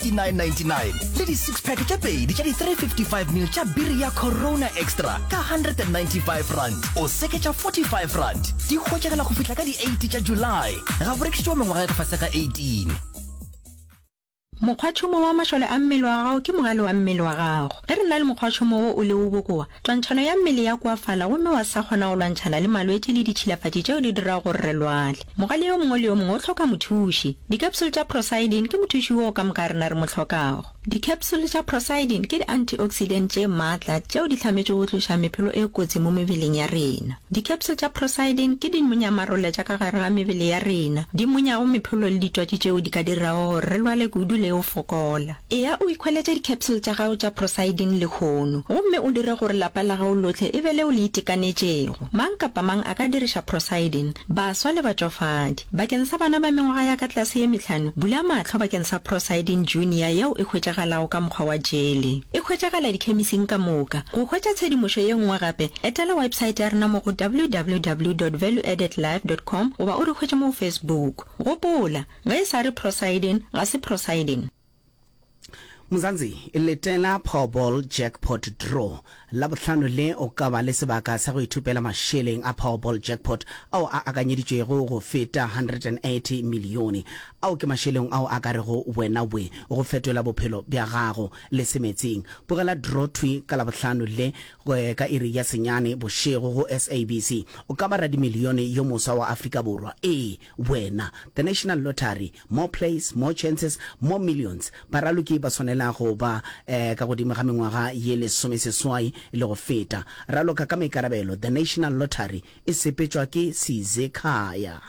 69.99 le di six pack tše pedi tša di 355 ml tša biri ya Corona Extra ka 195 rand o seketša 45 rand. Di hwetšagala go fihla ka di 8 tša July. Ga go rekišetšwa mengwaga ya ka fase ga 18. Mokgwatšhomo wa mašole a mmele wa gago ke mogale wa mmele wa gago. Ge re na le mokgwatšhomo wo o lego bokoa, Twantšhano ya mmele ya koafala gomme wa sa kgona go lwantšhana le malwetši le ditšhilafatši tšeo di dirago gore re lwale. Mogale yo mongwe le yo mongwe o hloka mothuši. Dikapsule tša Procyldin ke mothuši woo ka moka rena re mo hlokago. Dikapsule tša Procyldin ke di-antioxidant tše matla tšeo di hlametšwego go tloša mephelo e kotsi mo mebeleng ya rena. Dikapsule tša Procyldin ke dimonyamarole tša ka gare ga mebele ya rena, di monyago mephelo le ditwatši tšeo di ka dirago gore re lwale kudu le go fokola. Eya o ikhweletše di-capsule tša gago tša Procyldin lehono gomme o dire gore lapa la gago lohle e be leo le itekanetšego. Mang kapa mang a ka diriša Procyldin, baswa le batšofadi. Bakeng sa bana ba mengwaga ya ka tlase ye mehlano, bula mahlo bakeng sa Procyldin Junior yeo e hwetšagalago ka mokgwa wa jele. E hwetšagala dikhemising ka moka. Go hwetša tshedimošo ye nngwe gape, etela websaete ya rena mo go www dot valueaddedlife dot com goba o re hwetše mo go Facebook. Gopola, Ge e sa re Procyldin, ga se Procyldin. Mzansi, letela Powerball Jackpot Draw. Labohlano le o ka ba le sebaka sa go ithupela mašeleng a Powerball Jackpot ao a akanyeditšwego go feta 180 milione. Ao ke mašeleng ao a ka rego wena we go fetola bophelo bja gago le semetsing. Bogela draw thwi ka Labohlano le ka iri ya senyane bošego go SABC. O ka ba radimilione yo moswa wa Afrika Borwa. Ee, wena. The National Lottery, More plays, more chances, more millions. Baraloki ba swanela go ba ka godimo ga mengwaga ye lesomeseswai le go feta. Raloka ka maikarabelo. The National Lottery e sepetšwa ke Sizekhaya.